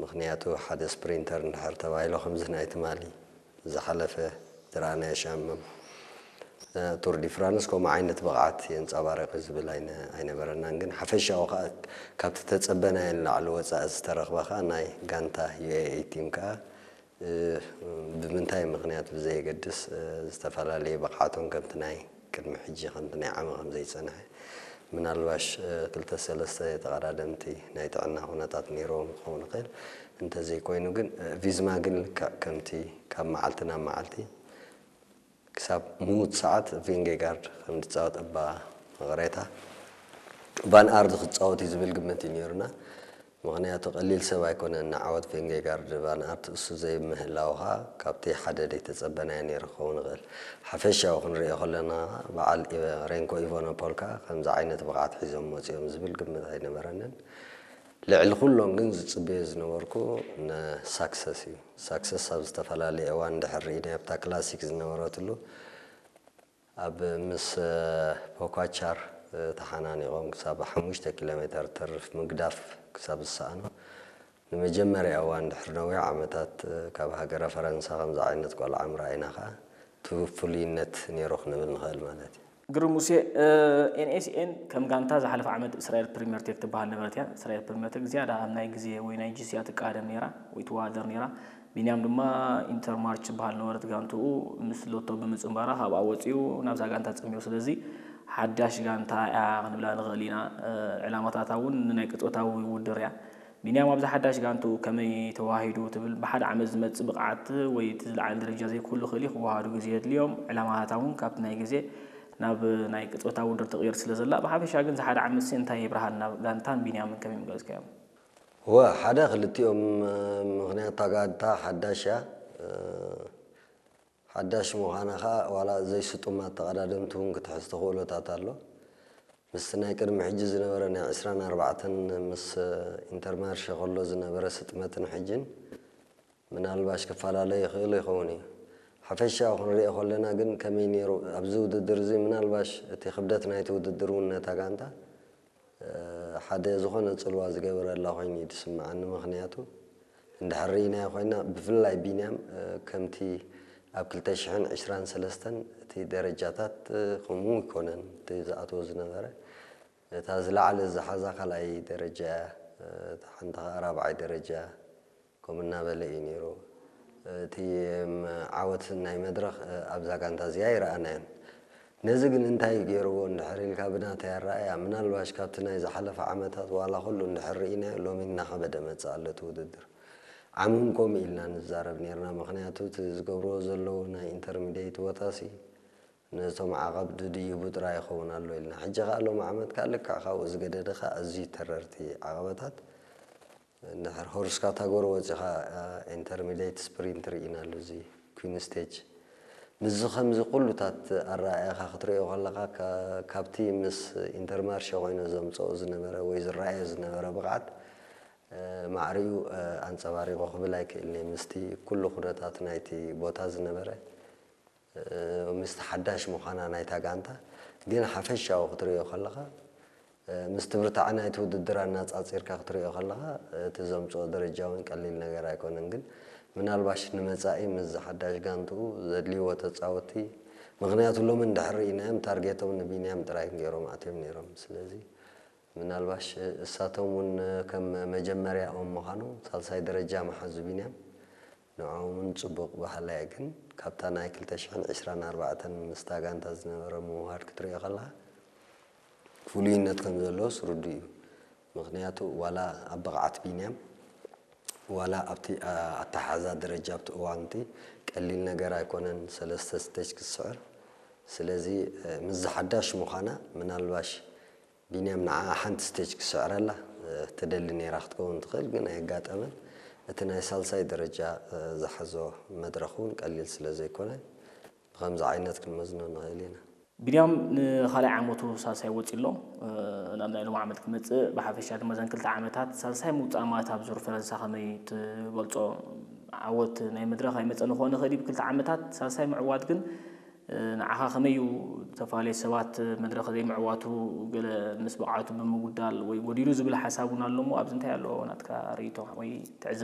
ምኽንያቱ ሓደ ስፕሪንተር እንድሕር ተባሂሎ ከምዚ ናይ ትማሊ ዝሓለፈ ዝረኣናዮ ሻምም ቱር ዲ ፍራንስ ከምኡ ዓይነት ብቕዓት የንፀባረቂ ዝብል ኣይነ- ኣይነበረናን። ግን ሓፈሻዊ ከዓ ካብቲ ተፀበናዮ ንላዕሊ ወፃኢ ዝተረኽበ ከዓ ናይ ጋንታ ዩ ኤ ኢ ቲም ከዓ እ፣ ብምንታይ ምኽንያት ብዘየገድስ እ፣ ዝተፈላለየ ብቕዓቶም ከምቲ ናይ ቅድሚ ሕጂ ከምቲ ናይ ዓመ ከም ዘይፀንሐ ምናልባሽ እ፣ ክልተ ሰለስተ ተቐዳደምቲ ናይ ጥዕና ኩነታት ነይርዎም ክኸውን ይኽእል። እንተዘይኮይኑ ግን እ፣ ቪዝማ ግን ልክዕ ከምቲ ካብ መዓልቲ ናብ መዓልቲ ክሳብ ምዉት ሰዓት ቪንጌጋርድ ከም ዝፃወት እባ መቕሬታ ቫን ኣርድ ክፃወት እዩ ዝብል ግምት እዩ ነይሩና። ምኽንያቱ ቀሊል ሰብ ኣይኮነን ንዓወት ቬንጌጋርድ ቫን ኣርት እሱ ዘይምህላው ከዓ ካብቲ ሓደ ዘይተፀበናዮ ነይሩ ክኸውን ይኽእል። ሓፈሻዊ ክንሪኦ ከለና በዓል ኢቨ- ሬንኮ ኢቫኖፖል ከዓ ከምዚ ዓይነት ብቕዓት ሒዞም መፂኦም ዝብል ግምት ኣይነበረንን። ልዕሊ ኩሎም ግን ዝፅበዮ ዝነበርኩ ንሳክሰስ እዩ። ሳክሰስ ኣብ ዝተፈላለየ እዋን እንድሕር ርኢናዮ ኣብታ ክላሲክ ዝነበረትሉ ኣብ ምስ ፖኳቻር ተሓናኒቖም ክሳብ ሓሙሽተ ኪሎ ሜተር ተርፍ ምግዳፍ ክሳብ ዝሰኣኑ ንመጀመርያ እዋን ድሕሪ ነዊሕ ዓመታት ካብ ሃገረ ፈረንሳ ከምዚ ዓይነት ቆልዓ ምርኣይና ከዓ እቲ ፍሉይነት ነይሩ ክንብል ንኽእል ማለት እዩ። ግርም ሙሴ፣ ኤንኤስኤን ከም ጋንታ ዝሓለፈ ዓመት እስራኤል ፕሪምየር ቴክ ትበሃል ነበረት እያ። እስራኤል ፕሪምየር ቴክ ዝያዳ ኣብ ናይ ግዜ ወይ ናይ ጂሲያ ትቃደም ነይራ ወይ ትወዳደር ነይራ። ቢንያም ድማ ኢንተርማርች ትበሃል ነበረት ጋንትኡ ምስ ሎቶ ብምጽንባራ ካብኣ ወጺኡ ናብዛ ጋንታ ጸሚሩ። ስለዚ ሓዳሽ ጋንታ እያ ክንብላ ንኽእል ኢና። ዕላማታታ እውን ንናይ ቅጽበታዊ ውድድር እያ። ቢንያም ኣብዛ ሓዳሽ ጋንትኡ ከመይ ተዋሂዱ ትብል? ብሓደ ዓመት ዝመጽእ ብቕዓት ወይ እቲ ዝለዓለ ደረጃ ዘይክህሉ ይኽእል እዩ፣ ክወሃሃዱ ግዜ የድልዮም። ዕላማታታ እውን ካብቲ ናይ ግዜ ናብ ናይ ቅጽበታዊ ውድድር ትቕየር ስለ ዘላ፣ ብሓፈሻ ግን እዚ ሓደ ዓመትሲ እንታይ የብርሃልና? ጋንታን ቢንያምን ከመይ ምገለጽካዮም? ወ ሓደ ክልቲኦም ምኽንያት እታ ጋንታ ሓዳሽ እያ። ሓዳሽ ምዃና ኸኣ ዋላ ዘይስጡማት ተቐዳደምቲ እውን ክትሕዝ ተኽእሎታት ኣሎ። ምስቲ ናይ ቅድሚ ሕጂ ዝነበረ ናይ ዕስራን ኣርባዕተን ምስ ኢንተርማርሸ ከሎ ዝነበረ ስጥመትን ሕጅን ምናልባሽ ክፈላለ ይኽእል ይኸውን እዩ። ሓፈሻዊ ክንሪኦ ከለና ግን ከመይ ነይሩ ኣብዚ ውድድር እዚ ምናልባሽ እቲ ክብደት ናይቲ ውድድር እውን ነታ ጋንታ ሓደ ዝኾነ ፅልዋ ዝገበረላ ኮይኑ እዩ ዝስምዓኒ። ምኽንያቱ እንድሕር ርኢናዮ ኮይና ብፍላይ ቢንያም ከምቲ ኣብ ክልተ ሽሕን ዕስራን ሰለስተን እቲ ደረጃታት ከምኡ ይኮነን እቲ ዝኣትዎ ዝነበረ እታ ዝለዓለ ዝሓዛ ካልኣይ ደረጃ እያ። እታ ሓንቲ ከዓ ራብዓይ ደረጃ ከምኡ እናበለ እዩ ነይሩ። እቲ ዓወት ናይ መድረኽ ኣብዛ ጋንታ እዚኣ ኣይረኣናዮን። ነዚ ግን እንታይ ገይርዎ እንድሕር ኢልካ ብናተይ ኣረኣእያ ምናልባሽ ካብቲ ናይ ዝሓለፈ ዓመታት ዋላ ኩሉ እንድሕር ርኢናዮ ሎሚ እናኸበደ መፅእ ኣሎ እቲ ውድድር። ዓምም ከምኡ ኢልና ንዛረብ ነይርና ምኽንያቱ እቲ ዝገብርዎ ዘለዉ ናይ ኢንተርሚዲየት ቦታሲ ነቶም ዓቐብ ድድይቡ ጥራይ ይኸውን ኣሎ ኢልና። ሕጂ ከኣ ሎም ዓመት ከኣ ልክዕ ካብኡ ዝገደደ ከኣ ኣዝዩ ተረርቲ ዓቐበታት እንድሕር ሆርስ ካታጎሪ ወፂኻ ኢንተርሚዲየት ስፕሪንት ርኢና ኣሎ እዚ ኩን ስቴጅ። ምስዚ ከምዚ ኩሉታት ኣረኣእያኻ ክትሪኦ ከለኻ ካብቲ ምስ ኢንተርማርሸ ኮይኑ ዘምፀኦ ዝነበረ ወይ ዝረኣዮ ዝነበረ ብቕዓት ማዕሪኡ ኣንፀባሪቑ ክብል ኣይክእልን እየ ምስቲ ኩሉ ኩነታት ናይቲ ቦታ ዝነበረ ምስቲ ሓዳሽ ምዃና ናይታ ጋንታ ግን ሓፈሻዊ ክትሪኦ ከለኻ ምስቲ ብርታዐ ናይቲ ውድድር ኣናፃፂርካ ክትሪኦ ከለኻ እቲ ዘምፅኦ ደረጃ እውን ቀሊል ነገር ኣይኮነን። ግን ምናልባሽ ንመፃኢ ምስዚ ሓዳሽ ጋንትኡ ዘድልይዎ ተፃወቲ ምኽንያቱ ሎሚ እንድሕር ርኢናዮም ታርጌቶም ንቢንያም ጥራይ ገይሮም ኣትዮም ነይሮም። ስለዚ ምናልባሽ እሳቶም እውን ከም መጀመርያኦም ምዃኑ ሳልሳይ ደረጃ መሓዙ ቢንያም ንዕኦም እውን ፅቡቕ ባህላ እየ። ግን ካብታ ናይ ክልተ ሽሕን ዕስራን ኣርባዕተን ምስታ ጋንታ ዝነበረ ምውሃድ ክትሪኦ ከለኻ ፍሉይነት ከም ዘለዎስ ርዱእ እዩ። ምኽንያቱ ዋላ ኣብ ብቕዓት ቢንያም ዋላ ኣብቲ ኣተሓዛ ደረጃ ኣብቲ እዋንቲ ቀሊል ነገር ኣይኮነን ሰለስተ ስቴጅ ክስዕር። ስለዚ ምስዚ ሓዳሽ ምዃና ምናልባሽ ቢንያም ንዓኣ ሓንቲ ስቴጅ ክስዕረላ ትደሊ ነይራ ክትከውን ትኽእል፣ ግን ኣየጋጠመን። እቲ ናይ ሳልሳይ ደረጃ ዝሓዞ መድረኽ እውን ቀሊል ስለ ዘይኮነ ብኸምዚ ዓይነት ክንመዝኖ ንኽእል ኢና። ቢንያም ንኻልኣይ ዓመቱ ሳልሳይ ወፂ ኣሎ። ናብ ናይ ሎም ዓመት ክመፅእ ብሓፈሻ ድማ ዘን ክልተ ዓመታት ሳልሳይ ምውፃእ ማለት ኣብ ዙር ፈረንሳ ከመይ ትገልፆ? ዓወት ናይ መድረኽ ኣይመፀን ክኾን ይኽእል እዩ ብክልተ ዓመታት ሳልሳይ ምዕዋት ግን ንዓኻ ከመይ እዩ? ዝተፈላለዩ ሰባት መድረኽ ዘይምዕዋቱ ገለ ምስ ብቕዓቱ ብምጉዳል ወይ ጎዲሉ ዝብል ሓሳብ እውን ኣሎ እሞ ኣብዚ እንታይ ኣሎ ናትካ ርእይቶ ወይ ትዕዝብቲ?